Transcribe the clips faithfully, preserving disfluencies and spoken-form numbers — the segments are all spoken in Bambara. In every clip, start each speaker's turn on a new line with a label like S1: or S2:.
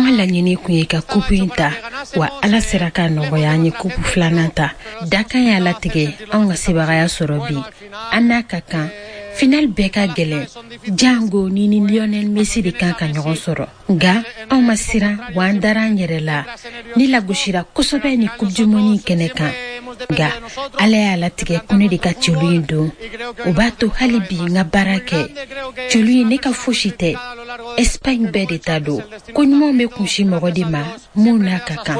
S1: An ka laɲini kun ye ka kupu in ta, wa Ala sera ka nɔgɔya an ye kupu filanan ta. Dakan y'a latigɛ anw ka sebagaya sɔrɔ bi. An n'a ka kan, final bɛɛ ka gɛlɛn, jango ni ni Lionel Messi de kan ka ɲɔgɔn sɔrɔ. Nka anw ma siran, wa an dara an yɛrɛ la. Ne lagosira kosɛbɛ ni Coupe du monde kɛnɛ kan, nka Ala y'a latigɛ ko ne de ka celu in don. O b'a to hali bi n ka baara kɛ. Celu in, ne ka fosi tɛ, Espagne bɛɛ de ta don. Ko ɲumanw bɛ kunsi mɔgɔ de ma mun n'a ka kan.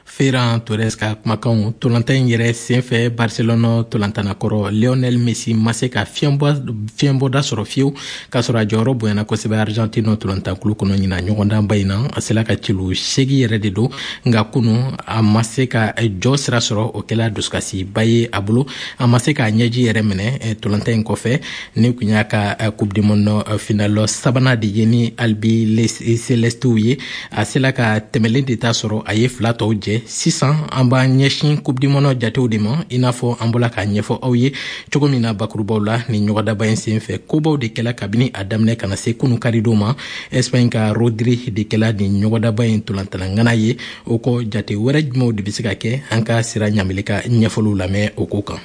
S2: Ferran Torres ka kumakanw. Tolantan in yɛrɛ senfɛ, Barcelona tolantannakɔrɔ Lionel Messi ma se ka fiɲɛbɔda sɔrɔ fiyewu, k'a sɔrɔ a jɔyɔrɔ bonyana kosɛbɛ Argentine tolantankulu kɔnɔ. Ɲina ɲɔgɔndanba in na, a sela ka celu segi yɛrɛ de don, nka kunu a ma se ka jɔ sira sɔrɔ. O kɛla dusukasiba ye a bolo, a ma se k'a ɲɛji yɛrɛ minɛ tolantan in kɔfɛ. Ni kun y'a ka Coupe du monde final sabanan de ye ni Albicelestew ye, a sela ka tɛmɛlen de ta sɔrɔ, a ye fila tɔw jɛ. Sisan an b'an ɲɛsin Coupe du monde jatew de ma. I n'a fɔ an bɔla k'a ɲɛfɔ aw ye cogo min na bakurubaw la, ni ɲɔgɔndaba in sen fɛ, kobaw de kɛla kabini a daminɛ ka na se kunu karidon ma. Espagne ka Rodri de kɛla nin ɲɔgɔndaba in tolantana ye. O kɔ, jate wɛrɛ jumɛnw de bɛ se ka kɛ? An ka Sira Ɲamili ka ɲɛfɔliw lamɛn o ko kan.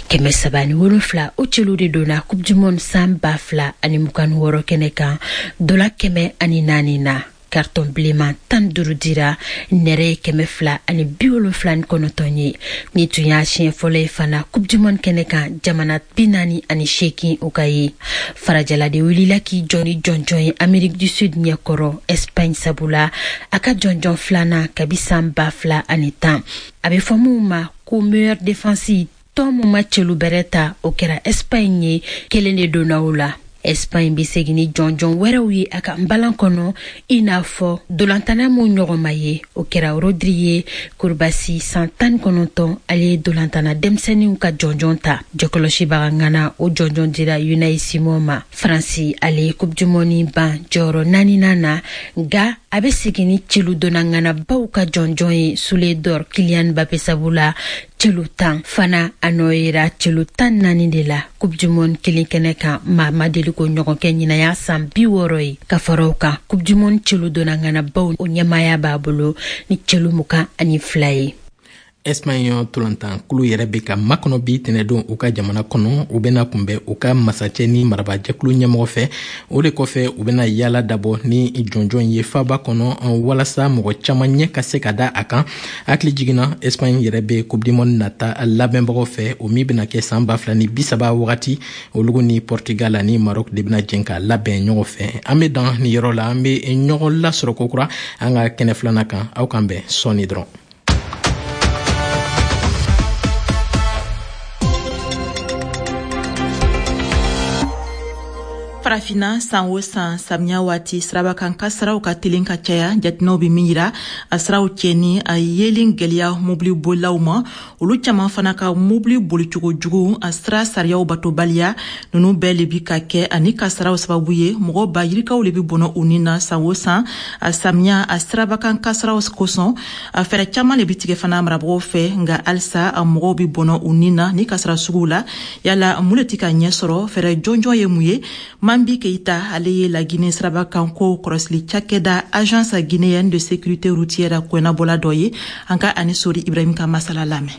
S1: Kɛmɛ saba ni wolonfila, o celu de donna Coupe du monde san ba fila ani mugan ni wɔɔrɔ kɛnɛ kan. Dola kɛmɛ ani naani na, carton bilenman tan duuru dira, nɛrɛ ye kɛmɛ fila ani bi wolonfila ni kɔnɔntɔn ye. Ni tun y'a siɲɛ fɔlɔ ye fana Coupe du monde kɛnɛ kan, jamana bi naani ani seegin o ka ye. Farajɛla de wulila k'i jɔ ni jɔnjɔn ye Amérique du Sud ɲɛkɔrɔ Espagne sabula, a ka jɔnjɔn filanan kabi san ba fila ani tan. A bɛ fɔ mun ma ko meilleure défense, tɔn mun ma celu bɛrɛ ta, o kɛra Espagne ye, kelen de donna o la. Espagne bɛ segin ni jɔnjɔn wɛrɛw ye a ka nbalan kɔnɔ, i n'a fɔ dolantana mun ɲɔgɔn ma ye, o kɛra Rodri ye. Kurubasi san tan kɔnɔntɔn, ale ye dolantana denmisɛnninw ka jɔnjɔn ta. Jɔkɔlɔsibaga ŋana, o jɔnjɔn dira Unai Simon ma. Faransi, ale ye Coupe du monde ban jɔyɔrɔ naaninan na, nka a bɛ segin ni celu donna ŋanabaw ka jɔnjɔn ye, Soulier d'Or Kylian Mbappé sabula, celu tan fana. A nɔ yera celu tan naani de la Coupe du monde kelen kɛnɛ kan. Maa ma deli ko ɲɔgɔn kɛ, ɲinaya san bi wɔɔrɔ ye. Ka fara o kan, Coupe du monde celu donna ŋanabaw, o ɲɛmaaya b'a bolo ni celu mugan ani fila ye.
S2: Espagne tolantankulu yɛrɛ bɛ ka makɔnɔ bi tɛnɛdon u ka jamana kɔnɔ. U bɛna kunbɛn u ka masacɛ ni marabajɛkulu ɲɛmɔgɔ fɛ. O de kɔfɛ, u bɛna yaala dabɔ ni jɔnjɔn ye faba kɔnɔ, walasa mɔgɔ caman ɲɛ ka se ka da a kan. Hakili jiginna, Espagne yɛrɛ bɛ Coupe du monde nata labɛnbagaw fɛ, o min bɛna kɛ san ba fila ni bi saba wagati. Olugu ni Portugal ani Maroc de bɛna jɛn ka labɛn ɲɔgɔn fɛ. An bɛ dan nin yɔrɔ la, an bɛ ɲɔgɔn lasɔrɔ kokura an ka kɛnɛ filanan kan. Aw kan bɛn sɔɔni dɔrɔn.
S3: Farafina, san o san samiya waati, sirabakan kasaraw ka telen ka caya. Jateminɛw bɛ min yira, a siraw cɛni, a yelen gwɛlɛya mobili bolilaw ma, olu caman fana ka mobili bolicogo jugu, a sira sariyaw batobaliya, nunu bɛɛ le bi ka kɛ ani kasaraw sababu ye. Mɔgɔ ba yirikaw le bi bɔnɔ u ni na san o san a samiya a sirabakan kasaraw kosɔn. A fɛɛrɛ caman le bi tigɛ fana marabagaw fɛ, nka halisa a mɔgɔw bi bɔnɔ u ni na ni kasara suguw la. Yala mun le ti ka ɲɛ sɔrɔ? Fɛɛrɛ jɔnjɔn ye mun ye? Mambi Keita, ale ye Lagine sirabakan ko kɔlɔsili cakɛda Agence guinéenne de sécurité routière kɔnabɔla dɔ ye. An ka ani Sori Ibrahim ka masala lamɛn.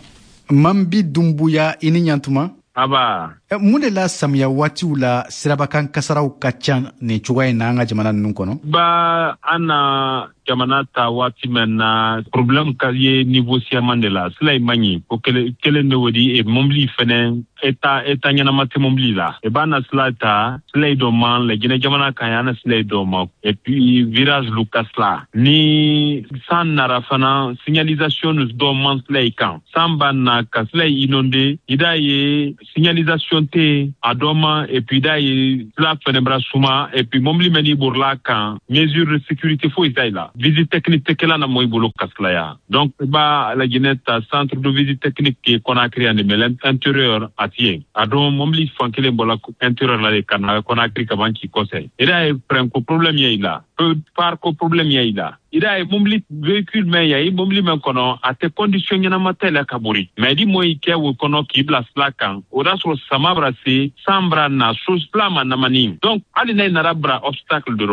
S4: Mambi Dumbuya, i ni ɲantuma.
S5: Aba.
S4: Mun de la samiya waatiw la sirabakan kasaraw ka ca nin cogoya in na an ka jamana ninnu kɔnɔ?
S5: Ba, an na jamana ta waati min na, problème ka ye niveau siyaman de la. Sila in man ɲi ko kelen de, o di mobili fɛnɛ état état ɲɛnama tɛ mobili la. I b'a na sila ta, sila dɔ man Lajinɛ jamana kan yan, na sila dɔ ma, et puis virage lu ka sila. Ni san nara fana, signalisation dɔ man sila i kan. San b'a na ka sila inondé, i d'a ye signalisation tɛ a dɔ ma, et puis i d'a ye sila fɛnɛ bara suma, et puis mobili mɛn n'i borila kan, mesure de sécurité foyi t'a la. Visite technique tɛ kɛla na mɔ i bolo ka silaya. Donc i b'a Lajinɛ ta, centre de visite technique ke Conakry yan de, mais l'intérieur a ti yen. A dɔn mobili fan kelen bɔla intérieur la de ka na Conakry ka ban k'i kɔsɛ. I d'a ye frein ko problème ye i la, phare ko problème ye i la. I d'a ye mobili véhicule mɛn yan, i mobili mɛn kɔnɔ, a tɛ condition ɲɛnama tɛ la ka bori. Mais di mɔ i kɛ o kɔnɔ k'i bila sila kan, o y'a sɔrɔ sama bara se, san bara na, so sila ma namani. Donc hali n'a nana bara obstacle dɔrɔn.